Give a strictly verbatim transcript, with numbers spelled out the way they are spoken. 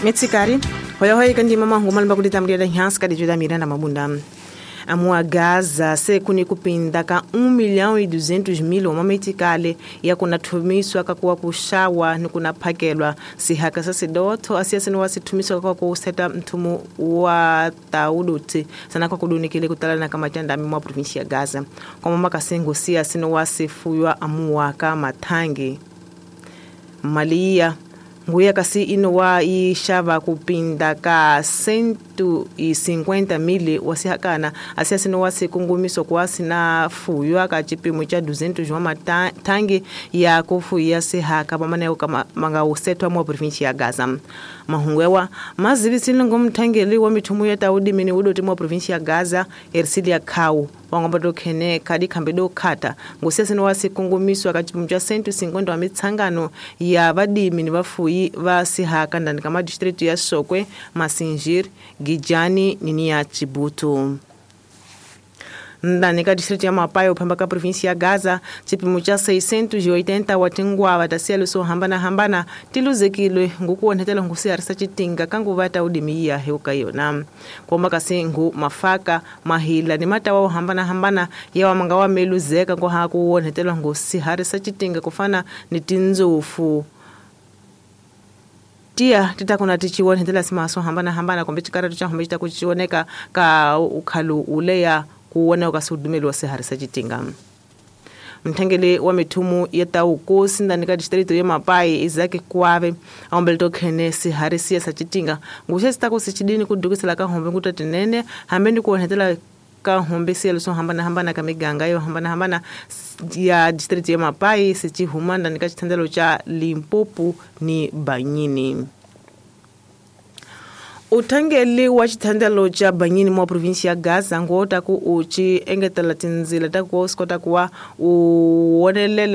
Metsikari hoya hoya kandima mahungu malamba kuditambulia nhansi kadijuda Miranda Mabunda. Amua Gaza se kuni kupinda ka um milhão e duzentos mil omametikale ya kunathumiswa kakuwa kushawa ni kunaphakelwa sihaka sa sidotho asiya sinowa sithumiswa kakuwa kuseta mthumu wa tauduti sana kwa kudunikile kutalana ka matandami mwa provinsia ya Gaza kwa makasengo siya sinowa sifuywa amuwa ka mathangi maliya nguya kasi inowa ixava kupinda ka cento e cinquenta mil wasihakana asiya sinowa sikungumiso kuwa sina fuywa ka cipimo ca duzentos wa mathangi ya kufuya sihaka pamane kama mangausetwa mwa provinsia ya Gaza. Mahungu mazivisile ngomthangeli wa mithumu ya taudimini udoti mwa provinsia ya Gaza Ercilia Khau wangomba dokhene khadi khambe dokhata ngusiya sinowa sikungumiswa ka cipimo ca cento e cinquenta wa mitsangano ya vadimi ni vafuyi va sihaka ndani ka madistritu ya Sokwe, Massingir, Gijani nini ya Chibutu. Ndani ka distrito ya Mapai uphamba ka provinsia ya Gaza cipimo ca seiscentos e oitenta wa tinguava ta siyalo swo hambanahambana ti luzekile ngukuonhetela ngusiharisa citinga ka nguva ta udimiya heuka yona komba kasi ngu mafaka mahila ni matawa wo hambanahambana yawa manga wa meluzeka nkoha kuonhetela ngusiharisa citinga kufana ni tindzofu tia titakuna tichiwonhetela simaso hambanahambana kumbe cikaratu ca hombe citakucioneka ka ukhalu uleya kuona ukasudumeli wa siharisa citinga. Mthengele wa mithumu ya taukosi ndani ka distrito ya Mapai Isaac Kwave aombele tokhene siharisiya sa citinga nguxe sitako sichidini kudukisela ka hombe nguta tinene hambe ni kuonhetela ka hombe siyelo swo hambanahambana ka miganga yo hambanahambana ya distrito ya Mapai sichihuma ndani ka xithandelo ca Limpopo ni Banyini. Uthangeli wa xithandelo ca Banyini mwa provinsia ya Gaza ngota ku uchi engetela tindzila ta ku swi kota ku wa u wonelela.